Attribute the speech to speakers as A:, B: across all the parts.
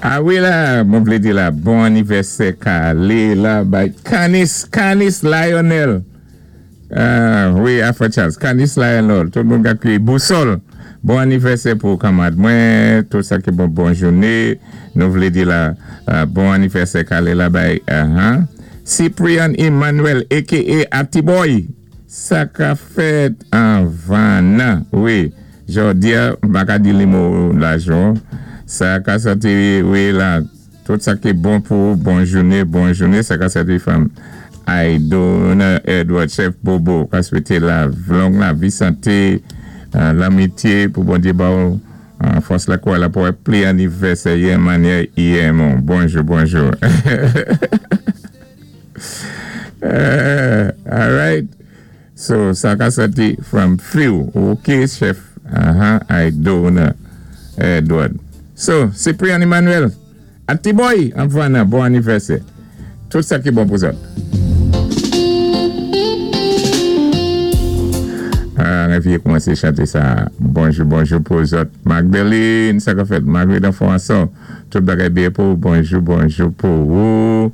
A: A wi la, mwen vlé di la, bon anivèsè kalé la bay Canis, Canis Lionel. Ah, wi, Afra Charles, Canis Lionel, tout moun ka kwiyé Bousòl. Bon anivèsè pou kanmad mwen, tout sa ki bon, bon jouné. Nou vlé di la, bon anivèsè kalé la bay, uh-huh. Cyprian Emmanuel, aka Atiboy. Sa ka fèt anvan nan, wi. Jòdi a, m pa ka di nimo lajan. Sa ka sòti, wi, la. Tout sa ki bon pou ou, bon jouné, bon jouné. Sa ka sòti from Aidona Edward, Chef Bobo. Ka swété la long lavi, santé, lanmityé pou Bondyé ba ou fòs la kouray la pou wè pli anivèsè yè manyè yè mon. Bonjou, bonjou. All right. So, sa ka sòti from Few. Ok, Chef. Aidona Edward. So, Cyprian Emmanuel. Atiboy, anvan bon anivèsè. Tout sa ki bon pou zòt. Ah, mwen koumansé chanté sa. Bonjou, bonjou pou zòt. Magdalene, sa ka fèt. Marguerite François. Tout bagay byen pou bonjou, bonjou pou ou.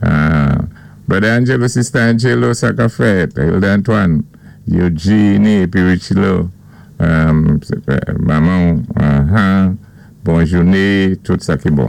A: Ah, Brother Angelo, Sister Angelo, sa ka fèt. Hilda Antoine, Eugenie, épi Richilo. Manman, bon jouné, tout sa ki bon.